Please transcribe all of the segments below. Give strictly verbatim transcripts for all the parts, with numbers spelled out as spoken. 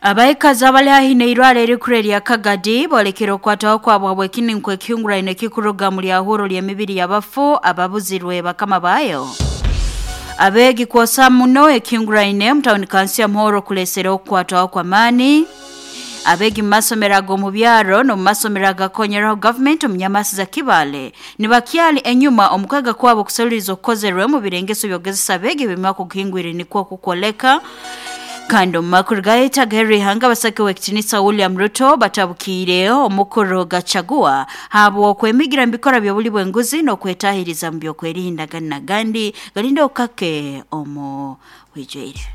Abaikazi abali haihi n'eirwaro erikuru erya Kagadi boolekere okukwataho kwabwe habw'ekininko ekihunguraine ekikuruga mu lyahuro ly'emibiri y'abafu ababuzirwe bakama baayo. Abeegi kwosa muno ekihunguraine mu tawuni kansi ya Muhoro kulesera okukwatwaho kw'amaani. Abeegi mu masomero ag'omu byaro n'omu masomero agakonyeraho gavumenti omu nyamasi za Kibaale nibakyali enyuma omu kwega kwabo okuseruliiriza okukozerwe mu birengeso by'okugezesa abeegi ebimyaka okuhingwire nikwo kukwoleka. Kandi omu makuru gayetaga erihanga abasake w'ekitinisa William Ruto batabukiire omukuru Gachagua habw'okwemigira mu bikora by'obuli bw'enguzi n'okwetahiriza mu by'okwerinda gandi na gandi galinde okukake omu bwijwire.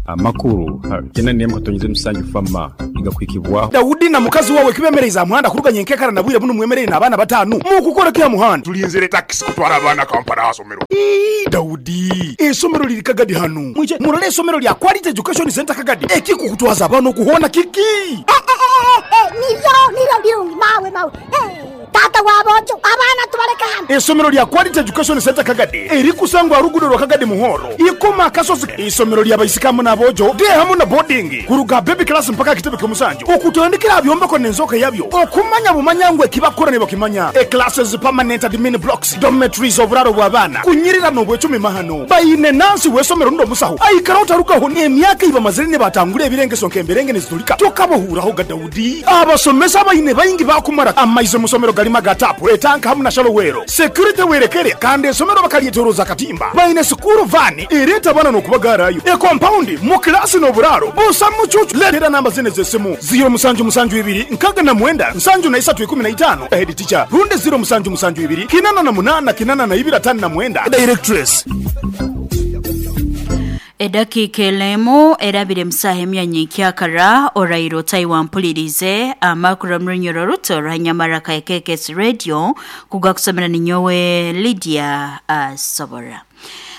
Amakuru tena nemu katonyize musanju fama igakwikibwaho Daudi na mukazi wawe kibemereza muhanda kuruganya enkekara na bwire buno mwemerere n'abaana batanu mukukora kya muhanda tulinzire taxi kutwara abaana Kampala asomero. Ii, Daudi esomero liri Kagadi hanu mwije murole esomero lya Quality Education Center Kagadi ekikukutwaza abaana okuhona kiki eh, eh, eh, eh, niryo niryo birungi mawe mawe eh. Tata wabojo abaana tubaleka hano. Esomero lya Quality Education Center Kagadi erikusangwa rugudo rwa Kagadi Muhoro ikoma kasozi. Isomero lya baisikamu n'abojo de hamu na boarding kuruga baby class mpaka kitebe ky'omusanju okutandikira byombeko n'enzoka yabyo okumanya bumanyangwe kibakora ne bakimanya e classes permanent admin blocks dormitories oburaro bw'abaana kunyirira n'obwecumi mahano bayine nansi w'esomero ndo musaho aikara otarukaho n'emyaka ibamazire ne batangura ebirengeso nk'emberenge nezitulika tokabohuraho ga Daudi abasomesa bayine bayingi bakumara amaize musomero galima gatapu etanka hamu na shalowero security werekere kandi esomero bakalyeteroza katimba bayine sukuru vani ereta bana n'okubagarayo e compound mu klasi n'oburaro busa mucucu letera namba zine z'essimu ziro musanju musanju ibiri nkaga na mwenda nsanju na isatu ikumi na itano head teacher runde ziro musanju musanju ibiri kinana na munana kinana na ibiri atano na mwenda directress. Edakika elemu erabire musaha emyanya nkyakara orairo taiwampulirize amakuru omurunyoro ruto rwanyamara ka K K S Radio kugakusomera ninyowe Lydia Asobora.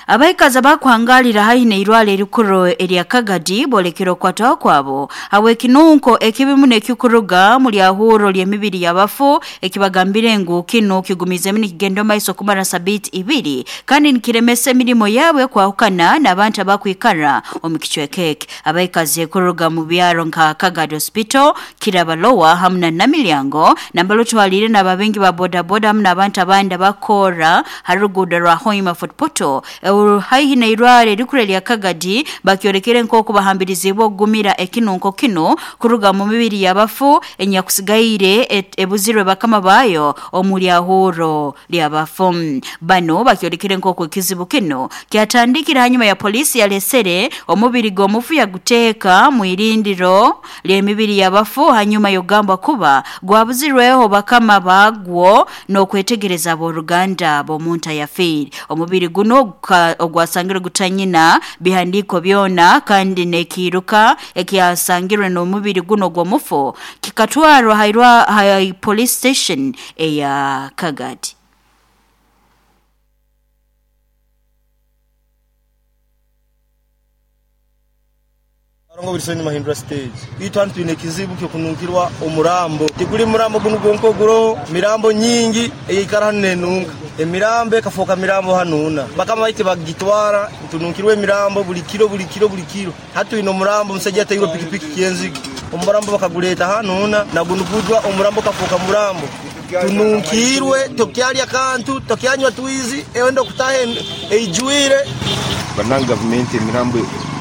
Abaikazi abakuhangalira haihi n'eirwaro erikuru erya Kagadi boolekere okukwatwaho kwabo habw'ekinunko ekibimu n'ekikuruga mu lyahuro ly'emibiri y'abafu ekibagambire ngu kinu kigumizemu nikigenda omu maiso kumara sabiiti ibiri kandi nikiremesa emirimo yaabwe kwahukana n'abantu abakwikara omu kicweka eki. Abaikazi kuruga mu byaro nka Kagadi Hospital, Kirabalowa hamu na Namilyango nambalo twalire n'ababengi ba bodaboda hamu n'abantu abandi abakora ha ruguudo rwa Hoima Fort Portal haihi n'eirwaro erikuru erya Kagadi bakyolekere nk'oku bahambirizibwe okugumira ekinunko kino kuruga mu mibiri y'abafu enyakusigaire ebuzirwe bakama baayo omu lyahuro ly'abafu. Bano bakyolekere nk'oku ekizibu kino kyatandikira hanyuma ya polisi yalesere omubiri gw'omufu yaguteeka mu irindiro ly'emibiri y'abafu hanyuma yogamba kuba gwabuzirweho bakama bagwo n'okwetegereza abooluganda b'omuntu ayafiire. Omubiri guno ogwasangirwe gutanyina bihandiko byona kandi nekiruka ekyasangirwe n'omubiri guno gw'omufu kikatwarwa hairwa hai police station eya Kagadi. Arongo birisoni mahindura stage itwantu twine kizibu kyo kunungirwa omurambo tikuli murambo guno gonko guro mirambo nyingi eyikara hano nenunga emirambo ekafoka mirambo hanuna bakama baite bagitwara tunungirwe emirambo buli kiro buli kiro buli kiro hatu ino murambo musajja atayirwa pikipiki kyenzigo omurambo bakaguleta hanuna nagunugudwa omurambo kafoka murambo tununkirwe tokyalya kantu tokyanywa twizi ewendo kutahe eijuire bananga gavumenti emirambo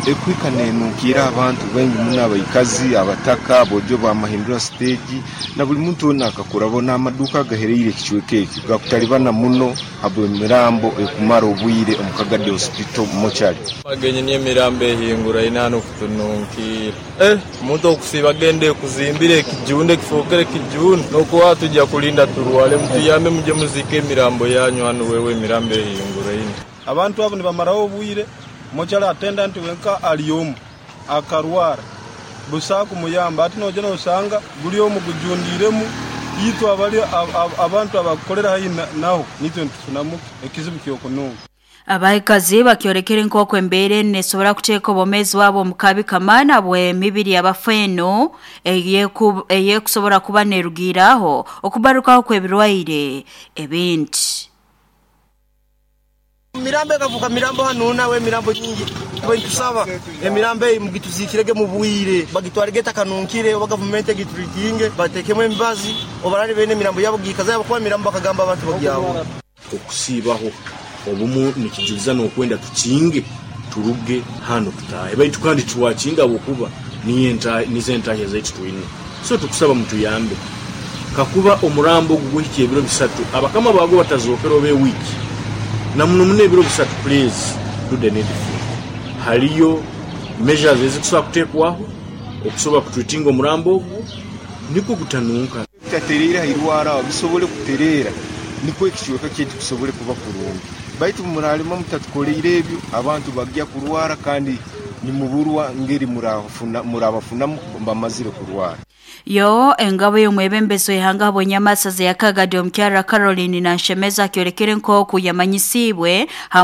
ekwika nenukira abantu bengi muno abaikazi abataka bojo ba mahindura stage na buli muntu wona akakura bona amaduka agahereire ekicweka eki gakutalibana muno habwe emirambo ekumara obwire omu Kagadi Hospital mochari bagenye ni emirambo ehingura inano kutununkira eh omuntu okusiba gende kuzimbire ekijunde kifokere kijunde nokuwa tujja kulinda turwale mutuyambe muje muzike emirambo yanyu hano wewe emirambo ehingura ino abantu abo nibamaraho obwire mochari attendant wenka aliomu akarwara busa kumuyamba ati noje nosanga guli omu gujundiremu yitu abali abantu abakolera hayi naho nitwe ntufunamu ekizibu kyokununga. Abaikazi bakyorekere nk'oku embeera nesobora kuteeka obwomeezi bwabo omu kabi kamana bwe mibiri y'abafu eno eyekusobora kuba nerugiiraho okubarukaho kw'ebirwaire ebindi. Mirambo ekavuka mirambo hanu nawe emirambo nyingi tusaba emirambo eyi mugituzikirege mu bwire, bagitwarege takanunkire, oba gavumenti egituritinge batekemu emibazi obarari bene emirambo yabo gikaza yabo, kuba emirambo bakagamba abantu bagyaho. Okusiibaho obumu nikijuliza n'okwenda tukinge turuge hano tutahe, baitu kandi tuwakinga habwokuba nizo entahya zaitu twine. So tukusaba mutuyambe, kakuba omurambo ogu guhikya ebiro bisatu abakama bago batazokera oba ewiki na muno muno ebiro bisatu, please do the needful. Haliyo measures ezikusobola kutekwaho okusobola kutreatinga omurambo ogwo nikwo gutanunka. Bitatereera hairwara bisobole kutereera nikwo ekicweka kyaitu kisobole kuba kurungi, baitu muralima mutatukoleire ebyo abantu bagya kurwara kandi nimuburwa ngeri murabafunamu bamazire kurwara. Yo engabo y'omwebembezi w'ihanga habw'enyamasaza ya Kagadi omukyara Caroline Nanshemeza akyorekere nk'oku yamanyisiibwe.